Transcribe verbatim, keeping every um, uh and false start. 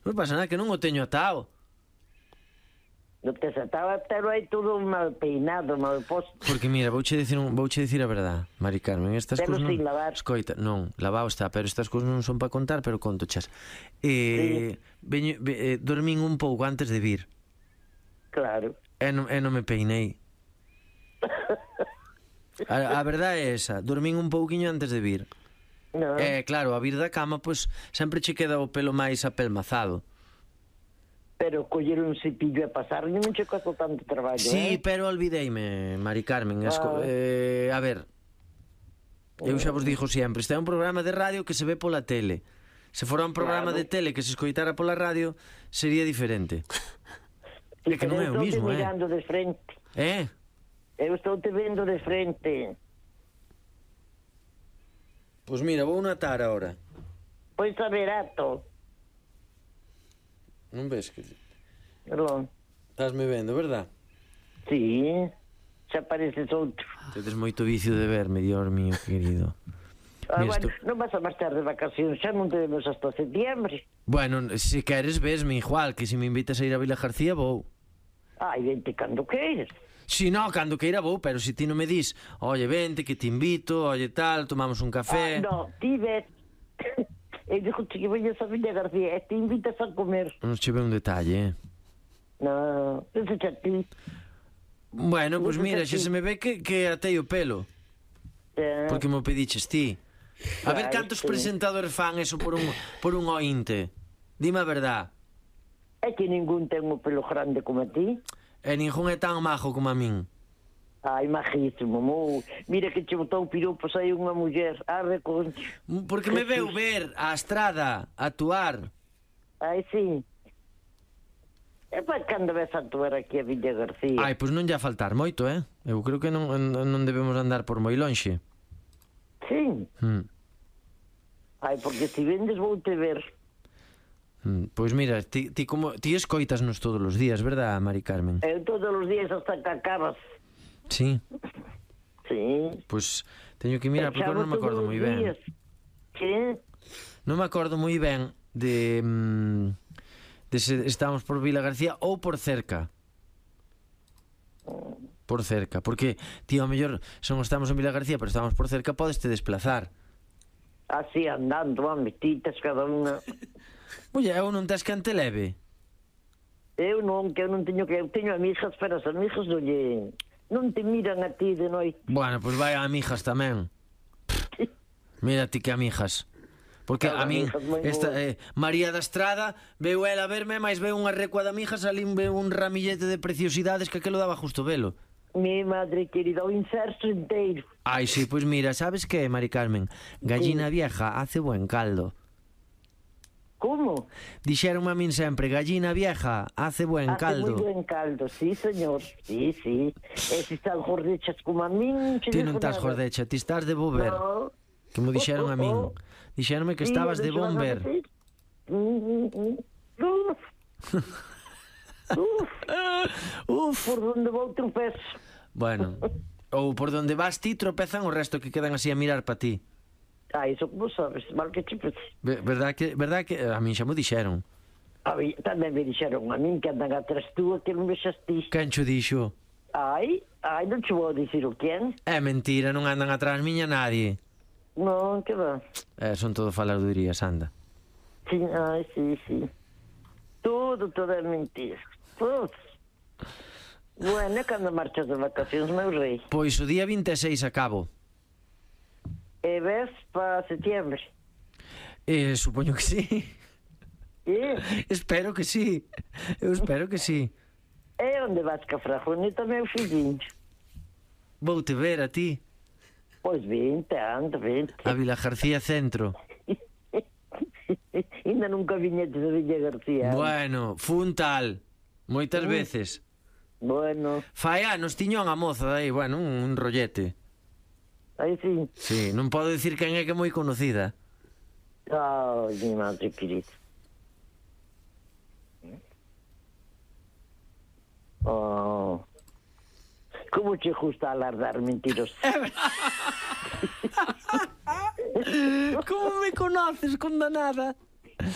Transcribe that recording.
Non pasa nada, que non o teño atado. Non te atado, pero hai todo mal peinado, mal posto. Porque mira, vouche dicir, un, vouche dicir a verdade, Mari Carmen, estas Pero cousas non... sin lavar. Escoita, non, lavado está, pero estas cousas non son para contar, pero conto chas. Eh, sí. veño, ve, eh, dormín un pouco antes de vir. Claro. E non, e non me peinei. A, a verdade é esa, dormín un pouquiño antes de vir. No. E claro, a vir da cama, pois sempre che queda o pelo máis apelmazado. Pero coller un cepillo e pasar non che costa tanto traballo, Sí, eh? pero olvideime, Mari Carmen. Esco... Ah. Eh, a ver, eu xa vos dixo sempre, este é un programa de radio que se ve pola tele. Se fora un programa Claro. de tele que se escoitara pola radio, sería diferente. É que non é o Eu mismo, estou te eh? mirando de frente. Eh? Eu estou te vendo de frente. Pois mira, vou natar ahora. Pois a verato. Non ves que... Perdón. Estás-me vendo, verdad? Sí, xa pareces outro. Tedes moito vicio de verme, Dios mío, querido. Ah, Mira, bueno, esto- non vas a marchar de vacacións, xa non te vemos hasta septiembre. Bueno, se queres vesme igual, que se me invitas a ir a Vila García vou. Ai, vente cando queires. Si no, cando queira vou, pero se ti non me dis, oye, vente, que te invito, oye, tal, tomamos un café. Ah, no, ti ves. Eu digo que vayas a Villa García e te invitas a comer. Non che ve un detalle, eh? No, eso xa ti. Bueno, pois pues Non mira, sei xa se me ve que, que atei o pelo. Eh, Porque mo pediches ti. A ver Ai, cantos sí. presentadores fan eso por un, por un ointe. Dime a verdad. É que ningún ten o pelo grande como a ti. E ningún é tan majo como a min. Ai, majísimo, mo. Mira que che botou piropos aí unha muller. Arre, concho. Porque me veu ver a estrada actuar. Ai, sí. E para cando ves a actuar aquí a Villa García? Ai, pois non lle a faltar moito, eh? Eu creo que non, non debemos andar por moi lonxe. Sí. Hmm. Ai, porque si vendes vou te ver. Hmm. Pois mira, ti, ti, como, ti escoitasnos todos os días, verdad, Mari Carmen? Eu todos os días hasta que acabas. Sí. Sí. Pois teño que mirar porque eu non me acordo moi ben. Que? Non me acordo moi ben de mm, de se estamos por Vila García ou por cerca. Por cerca, porque tío, a mellor son estamos en Vila García, pero estamos por cerca, podes te desplazar. Así andando, a metitas cada unha. Oye, eu non tes quen te leve. Eu non, que eu non teño que... Eu teño amigas, pero as amigas non lle... Non te miran a ti de noite. Bueno, pois vai a amigas tamén. Mira ti que amigas. Porque a min esta, eh, María da Estrada veu ela a verme, mais veu unha recua de amigas, ali veu un ramillete de preciosidades que aquelo daba justo velo. Mi madre querida, o inserso inteiro. Ai, sí, pois mira, sabes que, Mari Carmen? Gallina vieja hace buen caldo. Como? Dixeronme a min sempre, gallina vieja hace buen Hace caldo. moi buen caldo, sí, señor. Sí, sí. E se estás gordechas como a min... Ti non estás gordecha, ti estás de bober. No. Que mo dixeron a min. Dixeronme que Sí, estabas de deixo a bomber. repetir. Mm, mm, mm. Uf. Uf. Uf. Por donde vou tropezo. Bueno, ou por donde vas ti tropezan o resto que quedan así a mirar pa ti. Ah, iso como sabes, mal que che pese. Ve- Verdad que, verdad que a min xa mo dixeron. A mí, tamén me dixeron a min que andan atrás túa que non vexas ti. Quen cho dixo? Ai, ai, non che vou dicir o quen. É mentira, non andan atrás miña nadie. Non, que va. Eh, son todo faladurías, anda. Sí, ai, sí, sí. Todo, todo é mentira. Todo. Bueno, é cando marchas de vacacións, meu rei. Pois o día vinte e seis acabo. E ves para setembro. Eh, supoño que sí. E? Espero que sí. Eu espero que sí. E onde vas ca Frajoneta, meu fillinho? Vou te ver a ti. Pois vente, anda, vente. A Vila García Centro. Ainda nunca viñetes a Villa García. Bueno, fun tal. Moitas Mm. veces. Bueno, Fai anos tiña unha moza aí, bueno, un, un rollete. aí sí. Sí, non podo dicir quen é que é moi conocida. Ai, mi madre querida. Oh. Como che gusta alardar mentiros? Como me conoces, condenada?